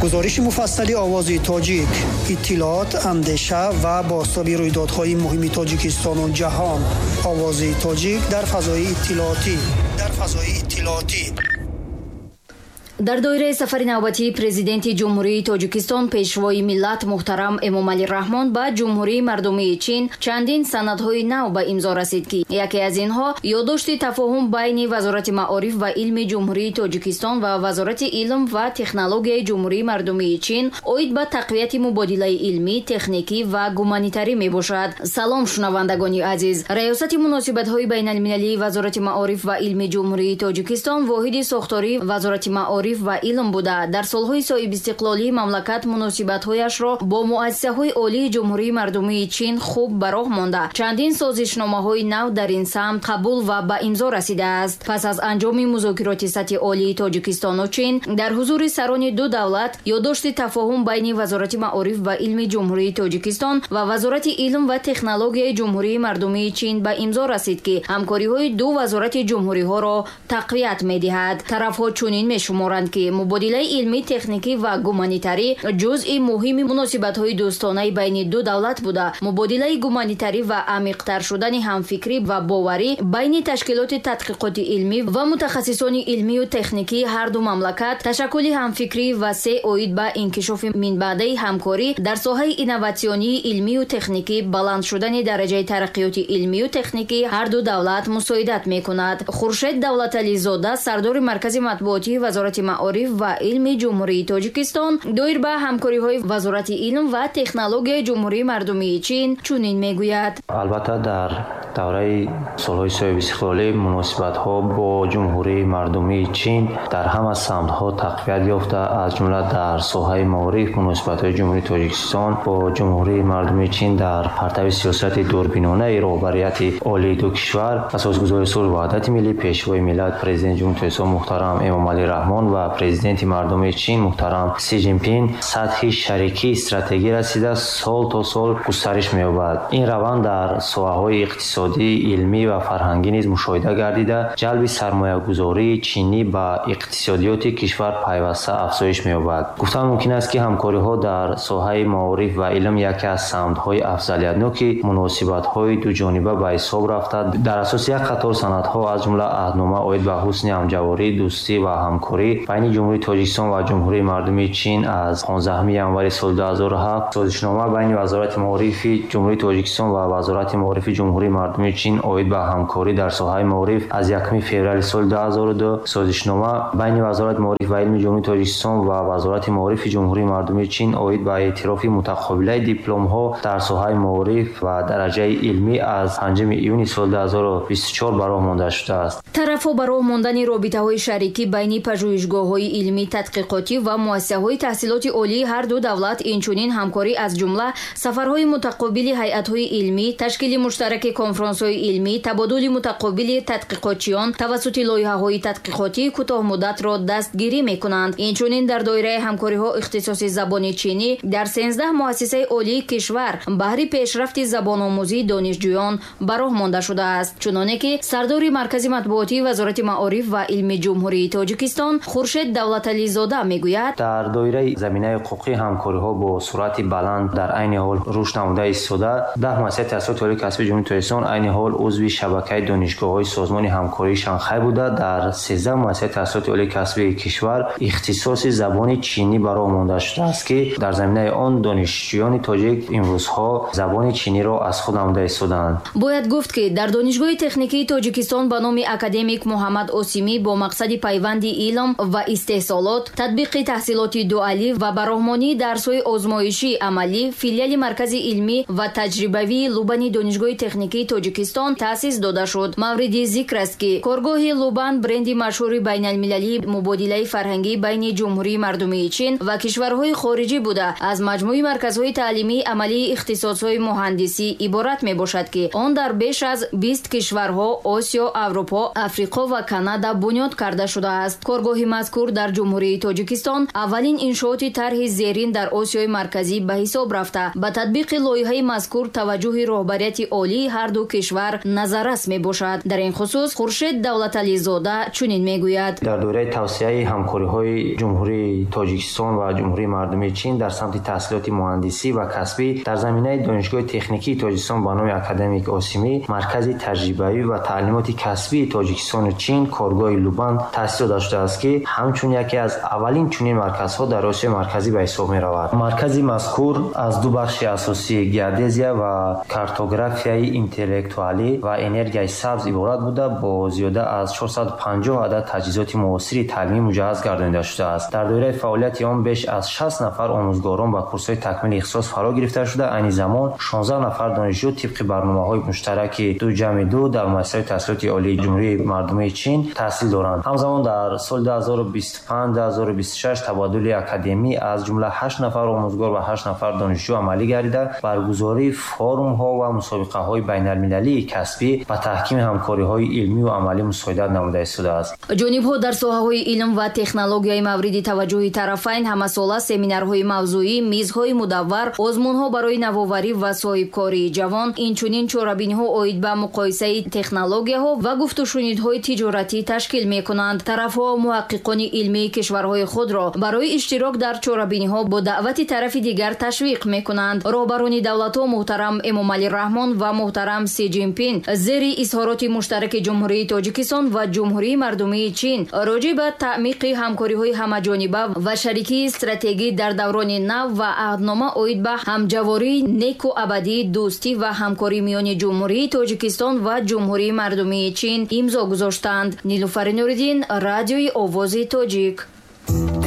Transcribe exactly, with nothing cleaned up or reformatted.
Гузориши муфассали Овози Тоҷик, иттилоот, андеша ва бозтоби рӯйдодҳои муҳими Тоҷикистону ҷаҳон. Овози Тоҷик дар фазои иттилоотӣ. Дар фазои иттилоотӣ. Дар доираи сафари навбатии Президенти Ҷумҳурии Тоҷикистон, Пешвои миллат муҳтарам Эмомалӣ Раҳмон ба Ҷумҳурии Мардумии Чин чандин санадҳои нав ба имзо расид, ки яке аз инҳо ёддошти тафоҳум байни Вазорати маориф ва илми Ҷумҳурии Тоҷикистон ва Вазорати илм ва технологияи Ҷумҳурии Мардумии Чин оид ба тақвияти мубодилаи илмӣ, техникӣ ва гуманитарӣ мебошад. Салом, шунавандагони азиз! Раёсати муносибатҳои байналмилалии Вазорати маориф ва илми Ҷумҳурии Тоҷикистон воҳиди сохтории Вазорати маориф ва илм буда, дар солҳои соҳибистиқлолии мамлакат муносибатҳояшро бо муассисаҳои олии Ҷумҳурии Мардумии Чин хуб ба роҳ монда, чандин созишномаҳои нав дар ин самт қабул ва ба имзо расидааст. Пас аз анҷоми музокироти сатҳи олии Тоҷикистону Чин дар ҳузури сарони ду давлат ёддошти тафоҳум байни Вазорати маориф ва илми Ҷумҳурии Тоҷикистон ва Вазорати илм ва технологияи Ҷумҳурии Мардумии Чин ба имзо расид, ки ҳамкориҳои ду вазорати ҷумҳуриҳоро тақвият медиҳад. Тарафҳо чунин мешуморанд, ки мубодилаи илмӣ, техникӣ ва гуманитарӣ ҷузъи муҳими муносибатҳои дӯстонаи байни ду давлат буда, мубодилаи гуманитарӣ ва амиқтар шудани ҳамфикрӣ ва боварӣ байни ташкилоти тадқиқоти илмӣ ва мутахассисони илмию техникии ҳар ду мамлакат, ташаккули ҳамфикрӣ васеъ оид ба инкишофи минбаъдаи ҳамкорӣ дар соҳаи инноватсионии илмию техникӣ, баланд шудани дараҷаи тараққиёти илмию техникии ҳар ду давлат мусоидат мекунад. Хуршед Давлатализода, сардори Маркази матбуотии Вазорати маориф ва илми Ҷумҳурии Тоҷикистон, доир ба ҳамкориҳои Вазорати илм ва технологияи Ҷумҳурии Мардумии Чин чунин мегӯяд. Албатта, дар давраи солҳои соҳибистиқлолӣ муносибатҳо бо Ҷумҳурии Мардумии Чин дар ҳама самтҳо тақвият ёфта, аз ҷумла дар соҳаи маориф муносибатҳои Ҷумҳурии Тоҷикистон бо Ҷумҳурии Мардумии Чин дар партави сиёсати дурбинонаи роҳбарияти олии ду кишвар, асосгузори сулҳу ваҳдати миллӣ, Пешвои миллат, Президенти Ҷумҳурии Тоҷикистон муҳтарам Эмомалӣ Раҳмон ва Президенти Мардумии Чин муҳтарам Си Ҷинпин сатҳи шарикии стратегӣ расида, сол то сол густариш меёбад. Ин раванд дар соҳаҳои иқтисодӣ, илмӣ ва фарҳангӣ низ мушоҳида гардида, ҷалби сармоягузории чинӣ ба иқтисодиёти кишвар пайваста афзоиш меёбад. Гуфтан мумкин аст, ки ҳамкориҳо дар соҳаи маориф ва илм яке аз самтҳои афзалиятноки муносибатҳои дуҷониба ба ҳисоб рафта, дар асоси як қатор санадҳо, аз ҷумла аҳднома оид ба ҳусни ҳамҷаворӣ, дӯстӣ ва ҳамкорӣ байни Ҷумҳурии Тоҷикистон ва Ҷумҳурии Мардумии Чин аз понздаҳуми январи соли ду ҳазору ҳафт, созишнома байни Вазорати маорифи Ҷумҳурии Тоҷикистон ва Вазорати маорифи Ҷумҳурии Мардумии Чин оид ба ҳамкорӣ дар соҳаи маориф аз якуми феврали соли ду ҳазору ду, созишнома байни Вазорати маориф ва илми Ҷумҳурии Тоҷикистон ва Вазорати маорифи Ҷумҳурии Мардумии Чин оид ба эътирофи мутақобилаи дипломҳо дар соҳаи маориф ва дараҷаи илмӣ аз панҷуми июни соли ду ҳазору бисту чор ба роҳ монда шудааст. Тарафҳо ба роҳ мондани робитаҳои шарикӣ байни пажӯҳишгоҳҳои илмӣ, тадқиқотӣ ва муассисаҳои таҳсилоти олии ҳар ду давлат, инчунин ҳамкорӣ аз ҷумла сафарҳои мутақобили ҳайатҳои илмӣ, ташкили муштараки конфронсҳои илмӣ, табодули мутақобили тадқиқотчиён тавассути лоиҳаҳои тадқиқотии кӯтоҳмуддатро дастгирӣ мекунанд. Инчунин дар доираи ҳамкориҳо ихтисоси забони чинӣ дар сенздаҳ муассисаи олии кишвар баҳри пешрафти забономӯзии донишҷӯён ба роҳ монда шудааст. Чуноне ки сардори Маркази матбуотии Вазорати маориф ва илми Ҷумҳурии Тоҷикистон Хуршед Давлатализода мегӯяд, дар доираи заминаи ҳуқуқии ҳамкориҳо бо суръати баланд дар айни ҳол рушд намуда истода, даҳ муассисаи таҳсилоти олии касбии Ҷумҳурии Тоҷикистон айни ҳол узви шабакаи донишгоҳҳои Созмони ҳамкории Шанхай буда, дар сездаҳ муассисаи таҳсилоти олии касбии кишвар ихтисоси забони чинӣ ба роҳ монда шудааст, ки дар заминаи он донишҷӯёни тоҷик имрӯзҳо забони чиниро аз худ намуда истодаанд. Бояд гуфт, ки дар Донишгоҳи техникии Тоҷикистон ба номи академик Муҳаммад Осимӣ бо мақсади пайванди илм ва истеҳсолот, татбиқи таҳсилоти дуалӣ ва бароҳмонии дарсҳои озмоишии амалӣ филиали Маркази илмӣ ва таҷрибавии Лубани Донишгоҳи техникии Тоҷикистон таъсис дода шуд. Мавриди зикр аст, ки коргоҳи Лубан бренди машҳури байналмилалии мубодилаи фарҳангӣ байни Ҷумҳурии Мардумии Чин ва кишварҳои хориҷӣ буда, аз маҷмӯи марказҳои таълимии амалии ихтисосҳои муҳандисӣ иборат мебошад, ки он дар беш аз бист кишварҳо Осиё, Аврупо, Африқо ва Канада бунёд карда шудааст. Коргоҳи мазкур дар Ҷумҳурии Тоҷикистон аввалин иншооти тарҳи зерин дар Осиёи Марказӣ ба ҳисоб рафта, ба татбиқи лоиҳаи мазкур таваҷҷӯҳи роҳбарияти олии ҳар ду Кишвар назаррас мебошад. Дар ин хусус Хуршед Давлатализода чунин мегӯяд: Дар доираи тавсеаи ҳамкориҳои Ҷумҳурии Тоҷикистон ва Ҷумҳурии Мардумии Чин дар самти таҳсилоти муҳандисӣ ва касбӣ дар заминаи Донишгоҳи техникии Тоҷикистон ба номи академик Осимӣ маркази таҷрибавӣ ва таълимоти касбии Тоҷикистону Чин коргоҳи Лубан таъсис дода шудааст, ки ҳамчун яке аз аввалин чунин марказҳо дар Осиёи Марказӣ ба ҳисоб меравад. Маркази мазкур аз ду бахши асосӣ геодезия ва картографияи интеллектуалӣ ва энергияи сабз иборат буда, бо зиёда аз чорсаду панҷоҳ адад таҷҳизоти муосири таълимӣ муҷаҳҳаз гардонида шудааст. Дар доираи фаъолияти он беш аз шаст нафар омӯзгорон ба курсҳои такмили ихтисос фаро гирифта шуда, айни замон шонздаҳ нафар донишҷӯ тибқи барномаҳои муштараки ду ҷамъи ду дар муассисаҳои таҳсилоти олии Ҷумҳурии Мардумии Чин таҳсил доранд. Ҳамзамон дар соли ду ҳазору бисту панҷ ду ҳазору бисту шаш табодули академӣ аз ҷумла ҳашт нафар омӯзгор ва ҳашт нафар донишҷӯ амалӣ гардида, баргузории форумҳо ва мусобиқаҳои байналмилалии касбӣ ба таҳкими ҳамкориҳои илмӣ ва амалӣ мусоидат намуда истодааст. Ҷонибҳо дар соҳаҳои илм ва технологияи мавриди таваҷҷӯҳи тарафайн ҳамасола семинарҳои мавзӯӣ, мизҳои мудаввар, озмунҳо барои навоварӣ ва соҳибкории ҷавон, инчунин чорабиниҳо оид ба муқоисаи технологияҳо ва гуфтушунидҳои тиҷоратӣ ташкил мекунанд. Тарафҳо муҳаққиқони илмии кишварҳои худро барои иштирок дар чорабиниҳо бо даъвати тарафи дигар ташвиқ мекунанд. Роҳбарони давлатҳо муҳтарам Эмомалӣ Раҳмон ва муҳтарам Си Ҷинпин зери изҳороти муштараки Ҷумҳурии Тоҷикистон ва Ҷумҳурии Мардумии Чин роҷеъ ба таъмиқи ҳамкориҳои ҳамаҷониба ва шарикии стратегӣ дар даврони нав ва аҳднома оид ба ҳамҷавории неку абадии дӯстӣ ва ҳамкорӣ миёни Ҷумҳурии Тоҷикистон ва Ҷумҳурии Мардумии Чин имзо гузоштанд. Нилуфари Нуриддин, Радиои Овози Тоҷик.